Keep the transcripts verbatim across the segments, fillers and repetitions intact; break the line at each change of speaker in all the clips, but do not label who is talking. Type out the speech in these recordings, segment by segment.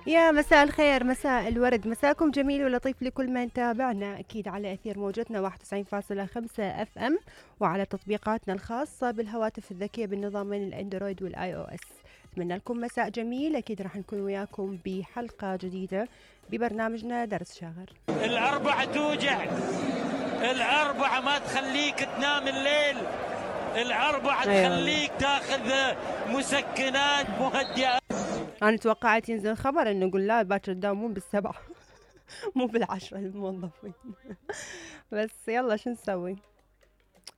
يا مساء الخير، مساء الورد، مساكم جميل ولطيف لكل من تابعنا أكيد على أثير موجتنا واحد وتسعين فاصلة خمسة اف ام، وعلى تطبيقاتنا الخاصة بالهواتف الذكية بالنظامين الاندرويد والاي او اس. اتمنى لكم مساء جميل. أكيد راح نكون وياكم بحلقة جديدة ببرنامجنا درس شاغر.
الأربعة توجع، الأربعة ما تخليك تنام الليل، الأربعة تخليك تاخذ مسكنات مهدئة.
أنا توقعت ينزل خبر إنه نقول لا باكر تداومون بالسبعة مو بالعشرة الموظفين. بس يلا شو نسوي؟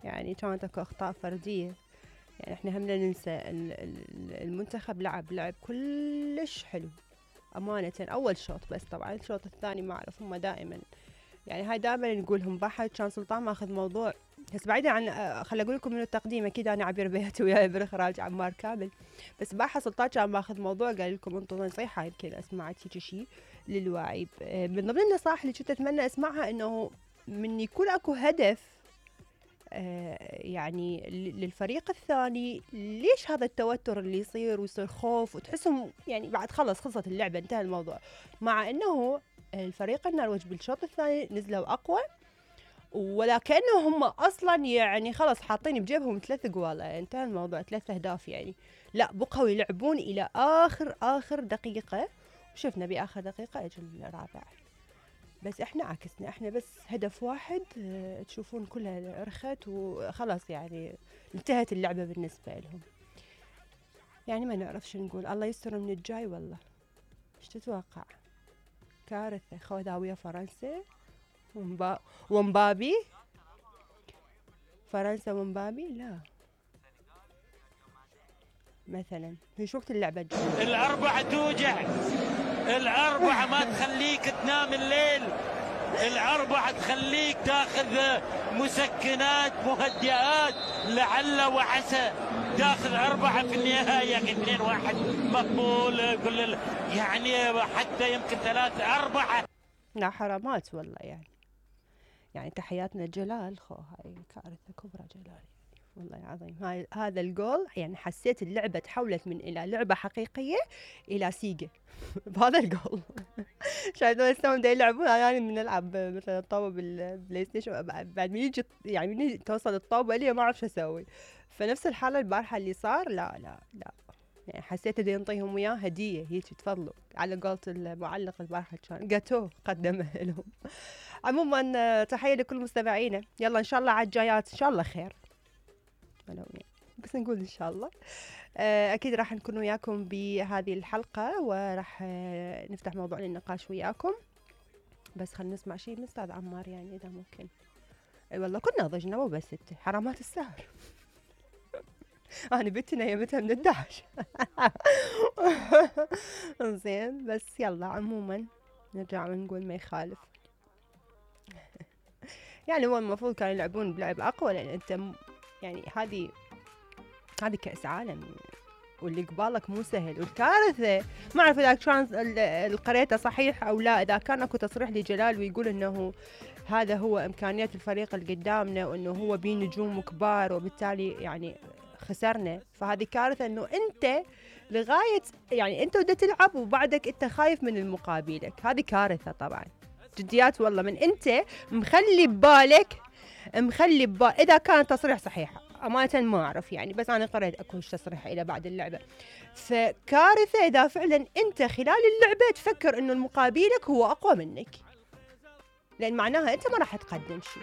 يعني كانت اكو أخطاء فردية. يعني احنا هم لا ننسى المنتخب لعب لعب كلش حلو أمانة أول شوط، بس طبعا الشوط الثاني ما أعرف هم دائما يعني هاي دائما نقولهم بحث. كان سلطان ماخذ موضوع بس بعيدا عن خل اقول لكم من التقديم. اكيد انا عبير بياتي وياي بالاخراج عمار كامل، بس باحث سلطان كان ماخذ موضوع قال لكم انطوا نصيحه يمكن اسمعت هيك شيء للواعي. من ضمن النصائح اللي كنت اتمنى اسمعها انه من يكون اكو هدف يعني للفريق الثاني، ليش هذا التوتر اللي يصير ويصير خوف وتحسهم يعني بعد خلص خلصت اللعبه انتهى الموضوع، مع انه الفريق النرويج بالشوط الثاني نزلوا اقوى ولا كأنه هم أصلاً يعني خلص حاطين بجيبهم ثلاث جوالا انتهى الموضوع، ثلاث أهداف يعني. لا بقوا يلعبون إلى آخر آخر دقيقة، وشفنا بآخر دقيقة أجل الرابع. بس إحنا عكسنا، إحنا بس هدف واحد اه تشوفون كلها رخت وخلاص يعني انتهت اللعبة بالنسبة لهم. يعني ما نعرف شو نقول، الله يستر من الجاي والله. ايش تتوقع؟ كارثة. خوذاوية فرنسا ومبا... ومبابي فرنسا ومبابي لا مثلا في وقت اللعبة الجاية.
الأربعة توجع، الأربعة ما تخليك تنام الليل، الأربعة تخليك تاخذ مسكنات مهدئات لعل وعسى تاخذ أربعة في النهاية. اثنين واحد مقبول كل يعني حتى يمكن ثلاثة أربعة.
لا حرامات والله يعني. يعني تحياتنا جلال خو هاي كارثة كبرى جلال يعني والله العظيم. هاي هذا الجول يعني حسيت اللعبة تحولت من إلى لعبة حقيقية إلى سيجا بهذا الجول. شايفين السهم دا يلعبون يعني من نلعب مثلا الطاوة بالبلاي ستيشن بعد من يجي يعني من توصل الطاوة لي ما أعرف شو أسوي. فنفس الحالة البارحة اللي صار لا لا لا يعني حسيت دا ينطيهم وياه هدية هيك تفضلوا على قولة المعلق البارحة كان جاتو قدمه لهم. عموما تحية لكل مستمعينا. يلا إن شاء الله على الجايات إن شاء الله خير ولو يعني بس نقول إن شاء الله. أكيد راح نكون وياكم بهذه الحلقة وراح نفتح موضوع للنقاش وياكم، بس خلينا نسمع شيء من أستاذ عمار يعني إذا ممكن. أي والله كنا ضجنا مو بس ستة حرامات السهر. أنا بنتنا يمتها من الدهش. زين بس يلا عموما نرجع ونقول ما يخالف. يعني هو المفروض كانوا يلعبون بلعب أقوى لأن أنت يعني هذه هذه كأس عالم واللي قبالك مو سهل. والكارثة ما أعرف إذا كان القريته صحيح أو لا، إذا كان أكو تصريح لجلال ويقول إنه هذا هو إمكانيات الفريق اللي قدامنا وإنه هو بيه نجوم كبار وبالتالي يعني خسرنا، فهذه كارثة إنه أنت لغاية يعني أنت بدأت تلعب وبعدك أنت خايف من المقابلك. هذه كارثة طبعا جديات والله. من أنت مخلي ببالك مخلي ببالك إذا كان تصريح صحيح أمانة ما أعرف يعني، بس أنا قرأت أكو تصريح إلى بعد اللعبة. فكارثة إذا فعلا أنت خلال اللعبة تفكر إنه المقابلك هو أقوى منك، لأن معناها أنت ما راح تقدم شيء.